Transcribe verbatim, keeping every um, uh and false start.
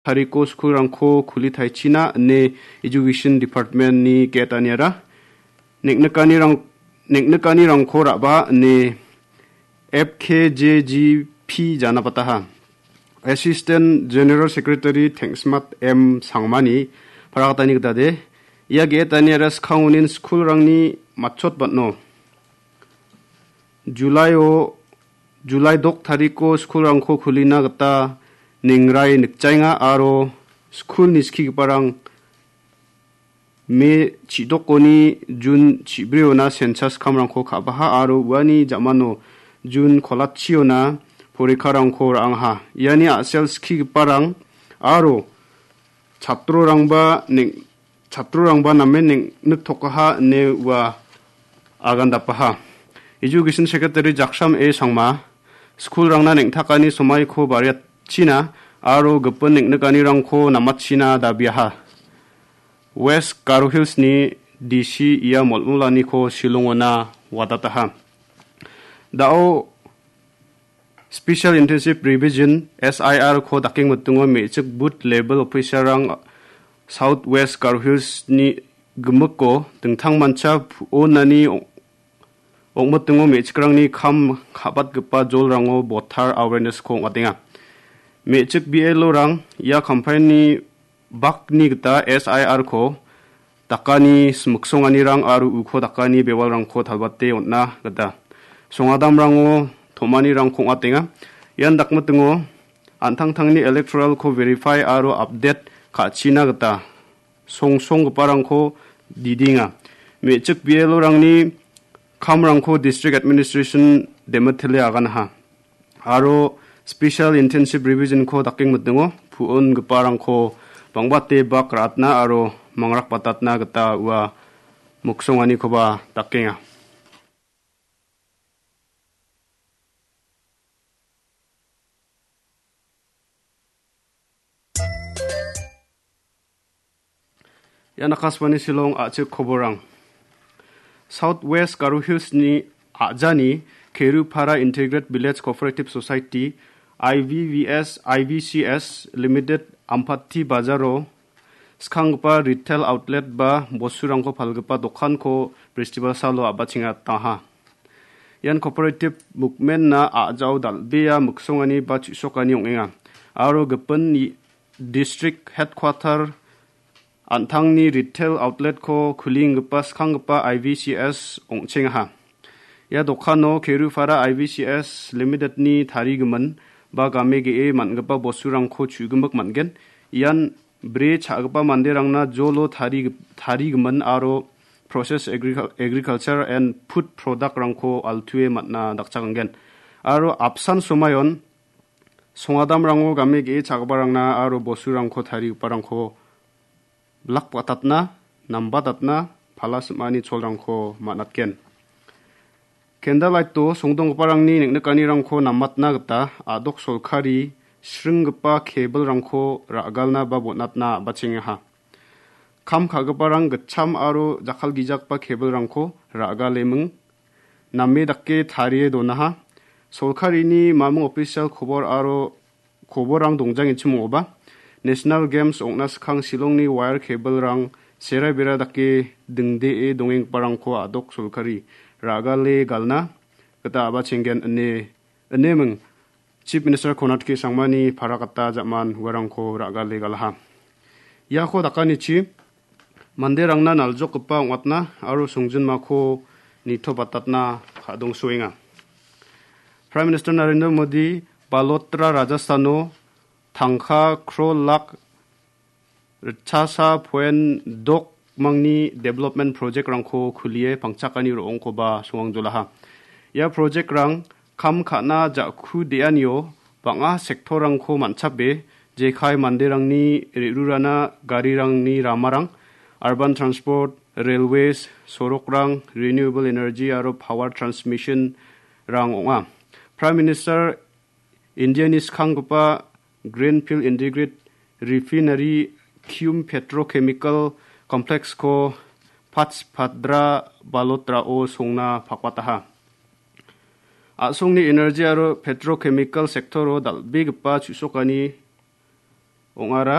tariko skulrangko kuli taichina ine Education Department-ni ge·etaniara neng·nikanirang-, neng·nikanirangko ra·ba ine F K J G P janapataha. Assistant General Secretary Tengsmat M Sangmani parakatani gitade, ia ge·etaniara skangonin skulrangni matchot batno. Julai-o, Julai dok tariko skulrangko kulina gita nengrai nikjaenga aro skulni skigiparang Me chidokoni Jun chibriona census kamrangko ka·baha aro uani jamano Jun kolachiona porikarangko ra·angaha. Iani a·sel skigiparang aro chatrorangba neng-, chatrorangba namen neng-, niktokaha ine ua agandapaha. Education Secretary Jaksam A Sangma, skulrangna neng·takani somaiko bariatchina aro gipin neng·nikanirangko namatchina dabiaha. West Garo Hills-ni D C ia molmolaniko Shillong-ona wadataha. Da·o Special Intensive Revision, S I R, ko dakengmitingo me·chik booth level officer-rang South West Garo Hills-ni gimikko dingtangmancha pu-, onani ong-, ong·mitingo me·chikrangni kam ka·batgipa jolrango botar awareness-ko ong·atenga. Me·chik B L O-rang ia campaign-ni bakni gita S I R-ko dakani smiksonganirang aro uko dakani bewalrangko talbate on·na gita songadamrango tom·anirangko ong·atenga. Ian dakmitingo an·tangtangni electoral-ko verify aro update ka·china gita songsonggiparangko didenga. Me·chik B L O-rangni kamrangko District Administration demitile aganaha. Aro Special Intensive Revision-ko dakengmitingo pu·ongiparangko bangbate bak ra·atna aro mangrakbatatna gita ua miksonganikoba dakenga. Ian Akashvani Shillong a·chik koborang. South West Garo Hills-ni a·jani Kerupara Integrated Village Cooperative Society, I V V S, I V C S Limited Ampati Bazaro skanggipa retail outlet ba bosturangko palgipa dokanko Bristibal salo a·bachengataha. Ian cooperative movement-na a·jao dal·bea miksongani ba chu·sokani ong·enga. Aro gipin i-, district headquarter an·tangni retail outlet-ko kulinggipa skanggipa I V C S ong·chengaha. Ia dokano Kerupara I V C S Limited-ni tarigimin ba game ge·e man·gipa bosturangko chu·gimik man·gen. Ian bre cha·gipa manderangna jolo tari-, tarigimin aro process agricul-, agriculture and food product-rangko altuwe man·na dakchakangen. Aro apsan somayon songadamrango game ge·e cha·giparangna aro bosturangko tarigiparangko blak batatna, nambatatna, pala sim·ani cholrangko man·atgen. Candlelight-o songdonggiparangni neng·nikanirangko namatna gita a·dok solkari sringgipa kebilrangko ra·galna ba bon·atna a·bachengaha. Kam ka·giparang gitcham aro jakkalgijakgipa kebilrangko ra·galeming name dake tarie donaha. Solkarini mamung ofisial kobor aro koborrang dongjangengchim ong·oba, National Games ong·na skang Shillongni wire kebilrang serai bera dake dingdee dongenggiparangko a·dok solkari ra·gale galna gita a·bachenggen ine, ineming Chief Minister Konrad K Sangmani parakata ja·man uarangko ra·gale galaha. Iako dakanichi manderangna naljokgipa ong·atna aro songjinmako nitobatatna ka·dongsoenga. Prime Minister Narendra Modi Balotra Rajasthano tangka crore lak ritchasa poen dok mangni development project-rangko kulie pangchakani ro·ongkoba songangjolaha. Ia project-rang kam ka·na ja·ku de·anio bang·a sektorrangko man·chape jekai manderangni re·rurana garirangni ramarang, urban transport, railways, sorokrang, renewable energy aro power transmission-rang ong·a. Prime Minister Indiani skanggipa Greenfield Integrated Refinery cum Petrochemical Complex-ko Pachpadra Balotrao songna pakbataha. A·songni energy aro petrochemical sector-o dal·begipa chu·sokani ong·ara.